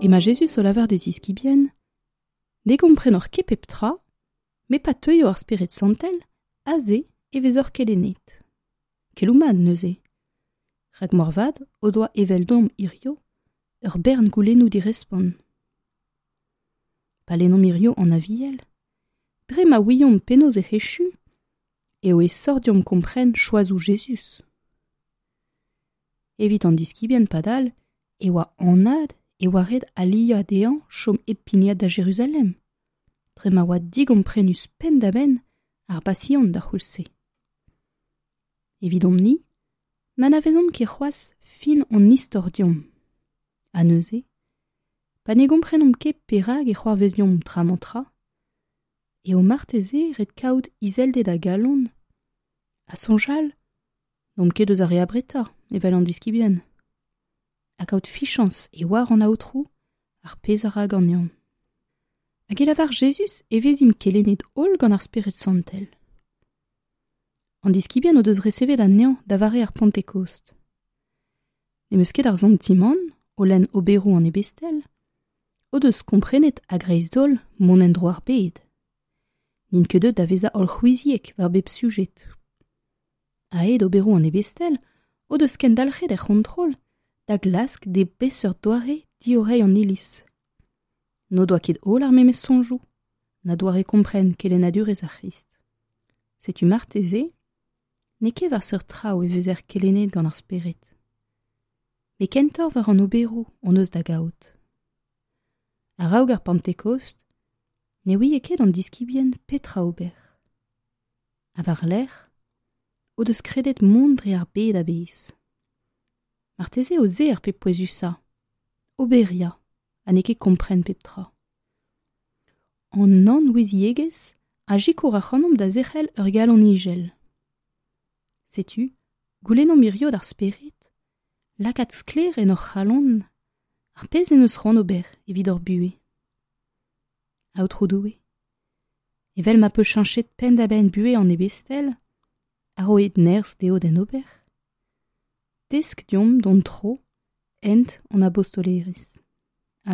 Emañ Jezuz o lavar d'e ziskibien, Ne gomprenoc'h ket pep tra, met pa teuio ar Spered Santel, aze e vezoc'h kelennet. Keloù mat neuze. Rak moarvat o doa eveldomp hirio ur bern goulennoù direspont. Pa lennomp hirio an Aviel, dre ma ouiomp penaos ec'h echu, eo aesoc'h deomp kompren choazoù Jezuz. Evit an diskibien padal e oa anat e oa ret aliañ dezhañ chom hep pignat da Jeruzalem, dre ma oa digomprenus penn-da-benn ar Basion d'ar c'houlz-se. Evidomp-ni, n'anavezomp ket c'hoazh fin hon istor deomp. Ha neuze, pa ne gomprenomp ket perak e c'hoarvez deomp tra-mañ-tra, eo marteze ret kaout izelded a galon ha soñjal n'omp ket eus ar re abretañ, evel an diskibien, ha kaout fichañs e oar an Aotrou ar pezh a ra ganeomp. Hag e lavar Jezuz e vezimp kelennet holl gant ar Spered Santel. An diskibien o deus resevet anezhañ da vare ar Pantekost. N'em eus ket ar santimant, o lenn oberoù an Ebestel, o deus komprenet a-greiz-holl mont en-dro ar bed. N'int ket deuet da vezañ hollc'houiziek war bep sujed. A-hed oberoù an Ebestel o deus kendalc'het er c'hontrol da glask d'e beseurt doare diorreiñ an Iliz. N'o doa ket holl ar memes soñjoù, na doare kompren kelennadurezh ar C'hrist. Setu marteze n'eo ket war seurt traoù e vezer kelennet gant ar Spered, met kentoc'h war an oberoù hon eus da gaout. A-raok ar Pantekost ne ouie ket an diskibien petra ober. Ha war-lerc'h o deus kredet mont dre ar bed a-bezh. Marteze eo se ar pep pouezusañ, oberiañ ha n'eo ket kompren pep tra. An nann-ouiziegezh a sikour ac'hanomp da zerc'hel ur galon ijel. Setu, goulennomp hirio d'ar Spered lakaat sklaer en hor c'halon ar pezh en deus c'hoant ober evit hor buhez. Aotrou Doue, evel ma peus cheñchet penn-da-benn buhez an Ebestel ha roet nerzh dezho d'en ober, desk deomp d'hon tro hent an abostolerezh.